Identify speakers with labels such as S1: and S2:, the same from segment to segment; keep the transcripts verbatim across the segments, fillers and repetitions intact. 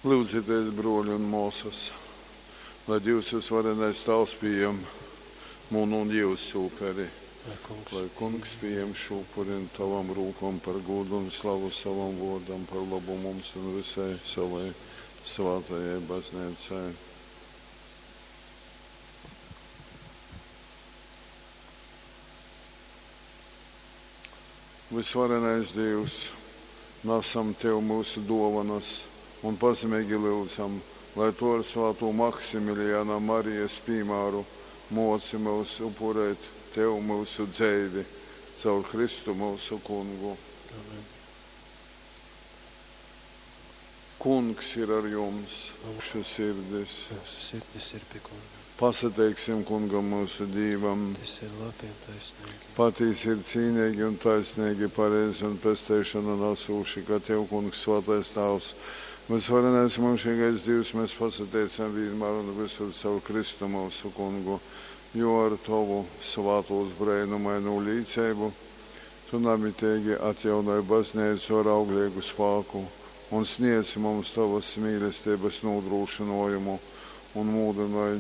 S1: Lyudzitēs, brōli un mōsas, lai Dīvs vysvarenais Tāvs pījam munu un jyusu uperi.
S2: Lai Kungs,
S1: Lai Kungs pījam šū upuri nu tavom rūkom par gūdu un slavu sovam vōrdam, par lobu mums un visai savai svātajai bazneicai. Vysvarenais Dīvs, nasam Tev myusu dōvonas un pazemeigi lyudzam, lai Tu ar svātō Maksimilijana Marijas pīmāru mōci myus upurēt Tev myusu dzeivi. Caur Kristu myusu Kungu.
S2: Amen.
S1: Kungs ir ar jums.
S2: Un
S1: Mūsu sirdis.
S2: Mūsu sirdis ir pie Kunga.
S1: Pasateiksim Kungam mūsu Dīvam.
S2: Tas ir labi un taisnīgi.
S1: Patīsi ir cīnīgi un taisnīgi, pareizi un pesteišanu nesūši, ka Tev, Kungs, svātais Tāvs, vysvarenais mūžīgais Dīvs, mēs pasateicam vienmēr un visur caur Kristu mūsu Kungu, jo ar Tovu svātūs breinumainū līceibu Tu namitīgi atjaunoj baznīcu ar auglīgu spāku un sniedz mums Tavas mīlestības nodrošinājumu un mūdinoj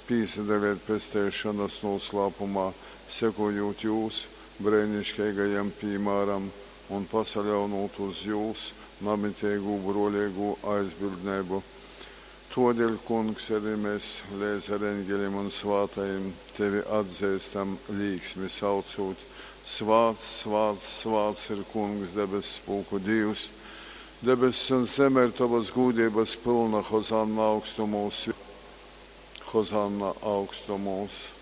S1: pīsadalīt pesteišanas noslēpumā, sekojot jūs brēnišķīgajam piemēram un pasaļaunot uz jūs namitīgu brōlīgu aizbildnību. Todēļ, Kungs, arī mēs līdz ar eņģeļiem un svātajiem tevi atzīstam līksmi saucot. Svāts, svāts, svāts ir Kungs, debess pulku Dievs. Debess un zeme ir tavas gūdības pilna, Hozanna augstumos. Hozanna augstumos.